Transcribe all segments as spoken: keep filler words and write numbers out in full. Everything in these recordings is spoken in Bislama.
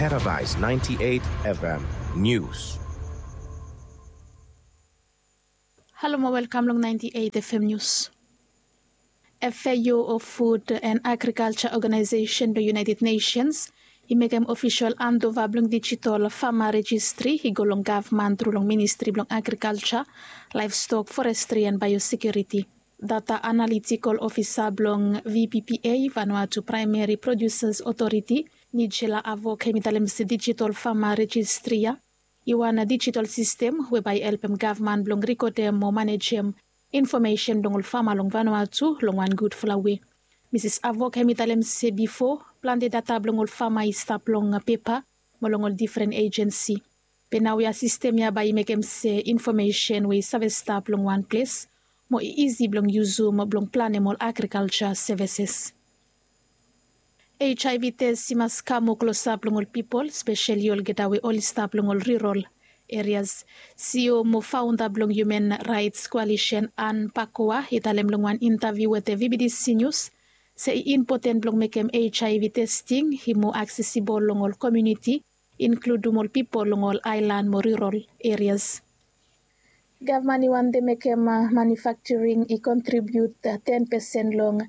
Paradise ninety-eight F M News. Halo mo welkam long ninety-eight F M News. F A O, o Food and Agriculture Organization blong United Nations, i mekem ofisol andova blong digital farmer registry i go long gavman tru long Ministri blong Agriculture, Livestock, Forestry and Biosecurity. Data analytical officer blong V P P A, Vanuatu Primary Producers Authority, Nigella Avoke, hemi talem se digital farmer registry ya i wan digital sistem we bae i helpem gavman blong rikodem mo manejem infomesen blong ol fama long Vanuatu long wan gudfala wei. Misis Avoke, hemi talem se bifo, plante data blong ol fama i stap long pepa mo long ol difren ejensi. Be naoia sistem ya bae i mekem se infomesen we i save stap long wan ples mo i isi blong yusum blong planem ol agrikalja sevises. H I V tes i mas kam moa klosap long ol pipol, speseli olgeta we oli stap long ol rural areas. C E O mo faonda blong Human Rights Coalition, Anne Pakoa, i talem long wan intaviu wetem V B D C News se i impoten blong mekem H I V testing i moa aksesibol long ol komuniti, inkludum ol pipol long ol aelan mo rural areas. Gavman i wantem mekem manufakturing i kontribiut ten pesen long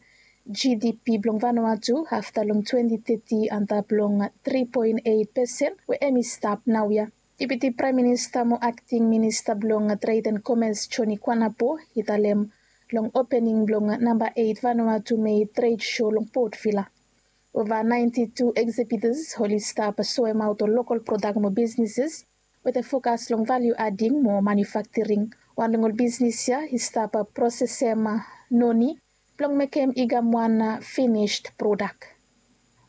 G D P blong Vanuatu afta long twenty thirty antap long three point eight pesen we hemi stap naoia. Deputi Praem Minista mo Akting Minista blong Tred and Komes, Johnny Kuanapo, i talem long opening blong namba eight Vanuatu Made Trade Show long Port Vila. Ova ninety two exhibitors oli stap soemaot ol lokol prodak mo bisnises wetem fokas long value adding mo manufakturing. Wan long ol bisnis ya i stap prosesem noni blong mekem i kam wan finished prodak.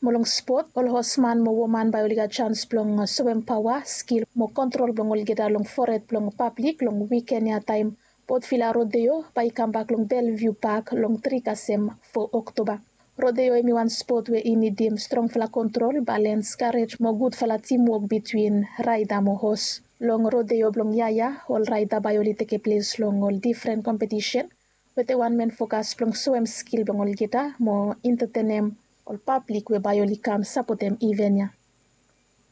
Mo long spot, ol hosman mo woman bae oli gat jans blong soem paoa, skil mo kontrol blong olgeta long fored blong pablik long wiken ya taem Port Vila Rodeo bae i kambak long Bellevue Park long tri kasem fo Oktoba. Rodeo hemi wan spot we i nidim strongfala kontrol, balens, karej mo gudfala timwok bitwin raeda mo hos. Long rodeo blong yia ya, ol raeda bae oli tekem ples long ol difren kompetisen wetem wan men fokas blong soem skil blong olgeta mo entetenem ol pablik we bae oli kam sapotem iven ya.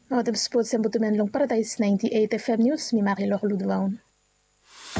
Mo wetem spots ya mi butumen long Paradise ninety eight F M News, mi Marilou Ludvaun.